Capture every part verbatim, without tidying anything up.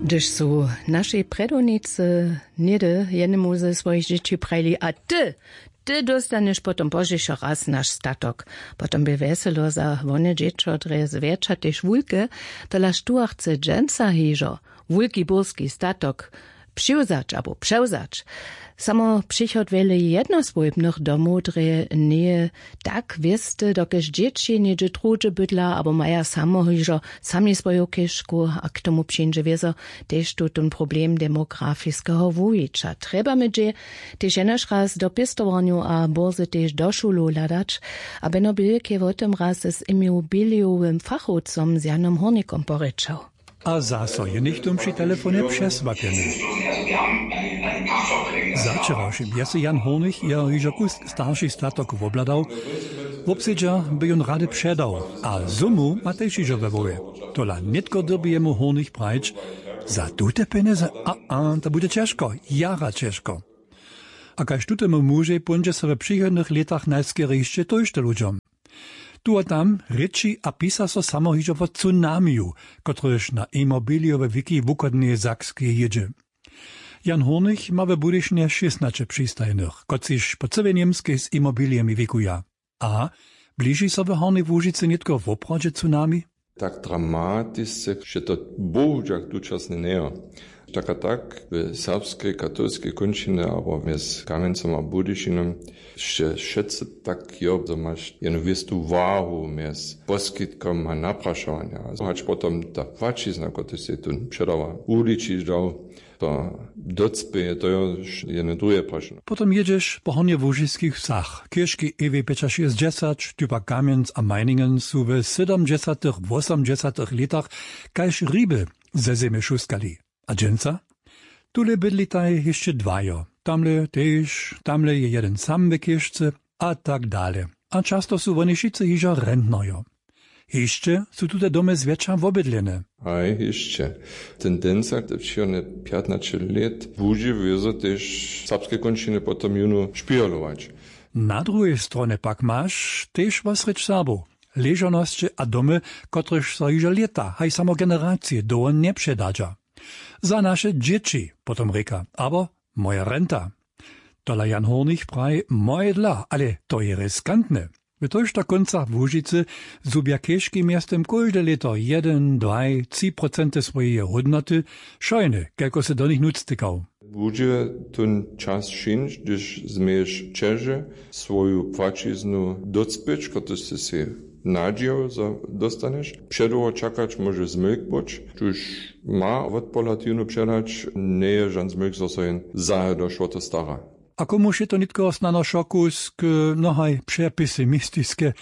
Hdyž su našej prjedownicy něhdy jednemu ze swojich dźěći prajili: „A ty, ty dóstanješ potom pozdźišo raz naš statok.” Potom bě wjeselo za wone dźěćo drje zwjetša tež wulke. Tola štó chce dźensa hižo wulki burski statok přiwzać abo přewzać? Samo přichod wjele jednoswójbnych domow drje njeje tak wěsty, dokelž dźěći něhdźe druhdźe bydla abo maja samo hižo sami swoju chěžku, a k tomu přińdźe wězo tež tutón problem demografiskeho wuwića. Trjebamy dźě tež jenož raz do pěstowarnjow a bórze tež do šulow hladać. A beno bilk je wo tym raz z imobiliowym fachowcom z Janom Hórnikom porěčał. A zaso je něchtó při telefonje přesłapjeny. Za wčerawšim je sej Jan Hórnik jeho hižo kusk starši statok wobhladał. Wobsedźa by jón rady předał, a sumu ma tež hižo we hłowje. Tola nětko dyrbi jemu Hórnik prajić: „Za tute pjenjezy, a a to budźe ćežko, jara ćežko.” A kaž tutemu mužej póńdźe so w přichodnych lětach najskerje hišće tójšto ludźom. Tu a tam rěči a pisa so samo hižo wo tsunamiju, kotryž na imobilijowe wiki wuchodneje Sakskej jědźe. Jan Hórnik ma w Budyšinje šěstnaće přistajenych, kotřiž po cyłej Němskej z imobilijemi wikuja. A bliži so w Hornjej Łužicy nětko woprawdźe tsunami? Tak dramatisce, že to bohudźak tučasnje njejo. Tak a tak, w serbskej katolskej kónčinje abo mjez Kamjencom a Budyšinom, wše-, wšetcy tak jo, zo maš jednu wěstu wahu mjez poskitkom a naprašowanja. Hač potom ta płaćizna, kotraž sej tu předawa, wuličiš dał, to docpěje, to jo jedne druhe prašenje. Potom jědźeš po hornjełužiskich wsach. Chěžki Ewej pjećašěsćdźesat, štypa Kamjenc a Meiningen su w sydomdźesatych, wosomdźesatych lětach kaž hriby ze zemje šuskali. A dźensa? Tule bydlitaj hišće dwajo. Tamle tež, tamle je jedyn sam w chěžce a tak dale. A často su woni wšitcy hižo rentnojo. Hišće su tute domy zwjetša wobydlene. Haj, hišće. Tendenca te přichodne pjatnaće lět budźe wězo tež serbske kónčiny potom jónu špěhlować. Na druhej stronje pak maš tež wosrjedź Serbow, ležownosće a domy, kotrež so hižo lěta, haj samo generacije dołho njepředadźa. Za naše dźěći, potom rěka, abo moja renta. Tola Jan Hórnik praji, moje dla, ale to je riskantne. W tójšto kóncach Łužicy zhubja chěžki mjeztym kóžde lěto jedyn, dwaj, tři procenty swojeje hódnoty, wšojne, kelko sy do nich nutř tykał. Budźe tón čas přińć, hdyž změješ ćeže swoju płaćiznu docpěć, kotryž sy sej nadźijał, zo dostanješ. Předołho čakać móže zmylk być, tuž ma wotpohlad jónu předać, njeje žan zmylk, zo so jen zahe došło to stara. A komuž je to nětko snano šokusk, no haj, přepesimistiske,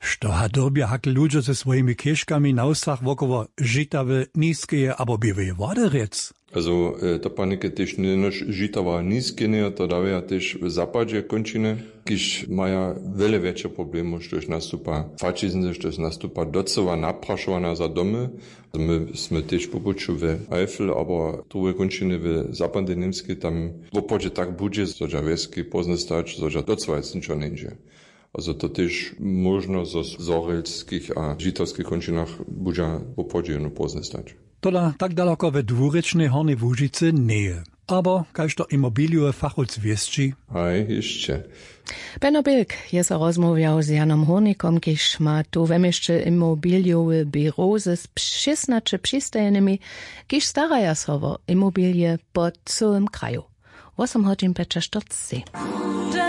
što ha dyrbja hak ludźo ze swojimi chěžkami na wsach wokoło Žitawy, Niskeje abo Běłeje Wody rjec? Also, e, to panike tež njenož Žitawa, Niske njejo, to dawja tež w zapadźe kónčiny, kiž maja wjele wjetše problemy, štož nastupa płaćizny, štož nastupa docyła naprašowana za domy. My smy tež po puću w Eifel abo druhe kónčiny w zapadnej Němskej, tam woprawdźe tak budźe, zo dźa wjeski pózdny stać, zo dźa docyła nic ničo njeńdźe. A zo to tež móžno zo w zhorjelskich a žitawskich kónčinach budźa woprawdźe jónu pózdny stać. Tola tak daloko we dwurěčnej Hornjej Łužicy njeje. Abo kaž to imobilijowy fachowc wěsći? Haj, hišće. Beno Bilk je so rozmołwjał z Janom Hórnikom, kiž ma tu we měsće imobilijowy běrow ze šěstnaće přistajenymi, kiž staraja so wo imobilije po cyłym kraju. Wosom hodźin pjećaštyrceći.